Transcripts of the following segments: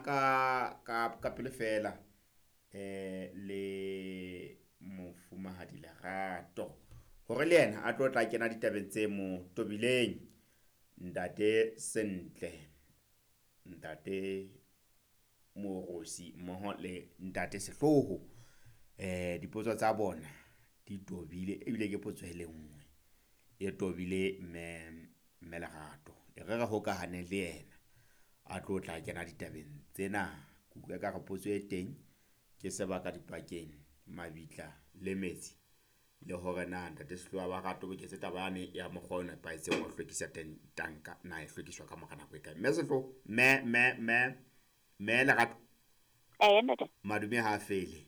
ka pele fela le mofumahadi Lerato hore le yena a tlo tla kena ditabeng tse mo tobileng. Ntate Sentle, Ntate Morosi mmoho le Ntate Sehloho, dipotso tsa bona di tobile ebile ke potso e le nngwe e tobile mme Lerato. E re re hokahane le yena a tlo tla kena ditabeng tsena. Ke utlwa ekare potso e teng ke sebaka dipakeng, mabitla le metsi, le hore na Ntate Sehloho a ba re toboketse taba yane ya mokgwa o nepahetseng wa ho hlwekisa tanka, na e hlwekiswa ka mora nako e kae. Mme Sehloho, mme Lerato. Ntate. Madume ha a fele.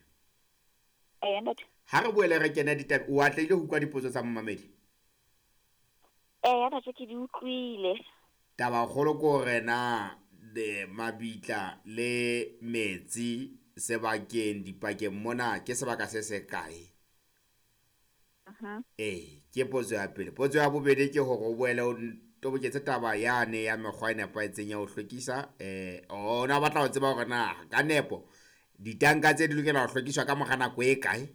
Ntate. Ha re boele re kene ditaba, o atlehile ho utlwa dipotso tsa momamedi? Ntate, ke di utlwile. Taba kgolo ke hore na mabitla le metsi sebakeng dipakeng mona ke sebaka se se kae? Ke potso ya pele. Potso ya bobedi ke hore o boele o toboketse taba yane ya mekgwa e nepahetseng ya ho hlwekisa. O na batla ho tseba hore na ka nepo ditanka tse di lokela ho hlwekiswa ka mora nako e kae?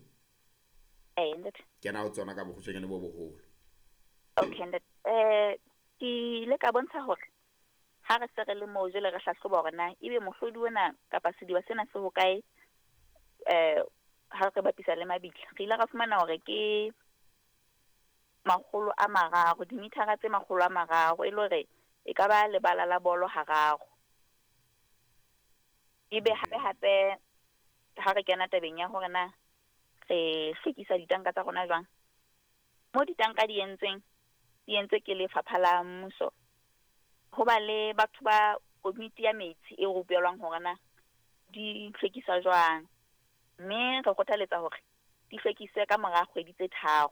Ntate. Kena ho tsona ka bokgutshwanyane bo boholo. Okay, ntate. Ke ile ka bontsha hore ha re se re le moo jwale re hlahloba hore na ebe mohlodi ona kapa sediba sena se hokae, ha re bapisa le mabitla. Re ile ra fumana hore ke 300, dimithara tse 300, e le hore e ka ba lebala la bolo hararo. Ebe hape hape ha re kena tabeng ya hore na re hlwekisa ditanka tsa rona jwang, mo ditanka di entsweng, di entswe ke lefapha la mmuso, ho ba le batho ba komiti ya metsi e rupelwang hore na di hlwekiswa jwang. Mme re kgothaletsa hore di hlwekiswe ka mora kgwedi tse 3.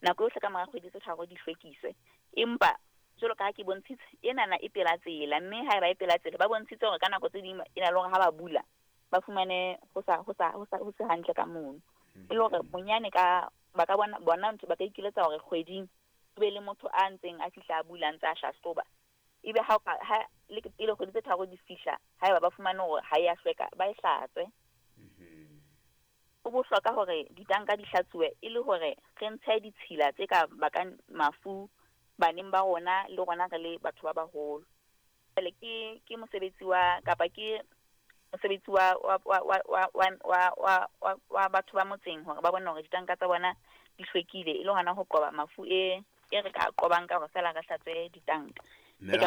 Nako yohle ka mora kgwedi tse 3 di hlwekiswe. Empa jwalo ka ha ke bontshitse, enana e pela tsela, mme haeba e pela tsela ba bontshitse hore ka nako tse ding e na le hore ha ba bula ba fumane ho se hantle ka mono. E le hore bonyane ka ba ka bona ntho ba ka ikiletsa hore kgweding ho be le motho a ntseng a fihla a bula ntse a hlahloba. Ebe ha le pele kgwedi tse 3 di fihla, haeba ba fumane hore ha ya hlweka, ba e hlatswe. Ho bohlokwa hore ditanka di hlatsuwe e le hore re ntshe ditshila tse ka bakang mafu baneng ba rona le rona re le batho ba baholo. Jwale ke mosebetsi wa kapa ke mosebetsi wa batho ba motseng hore ba bone hore ditanka tsa bona di hlwekile e le hona ho qoba mafu e re ka qobang ka hore fela re hlatswe ditanka. Di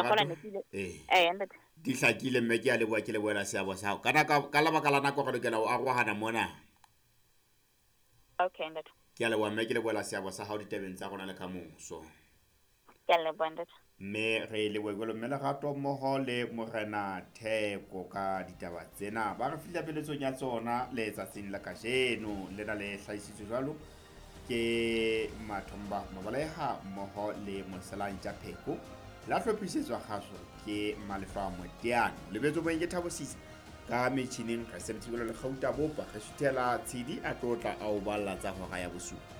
hlakile mme ke a leboha, ke lebohela seabo sa hao. Ka lebaka la nako re lokela ho arohana mona. Okay, ntate. Ke a leboha mme ke lebohela seabo sa hao ditabeng tsa rona le ka moso. Ke a leboha, ntate. Mme re lebohe jwalo mme Lerato mmoho le Morena Theko ka ditaba tsena. Ba re fihla peletsong ya tsona letsatsing la kajeno. Lena le hlahisitswe jwalo ke Mathomba Mabaleha mmoho le Moselantja Pheko. La hlophisetswa kgaso ke Malefa Moteane. Lebetso boeng ke Thabo Sisa ka metjhineng re sebedisitse le Kgauta Bopa. Re suthela Tshidi a tlotla a o balla tsa hora ya bosupa.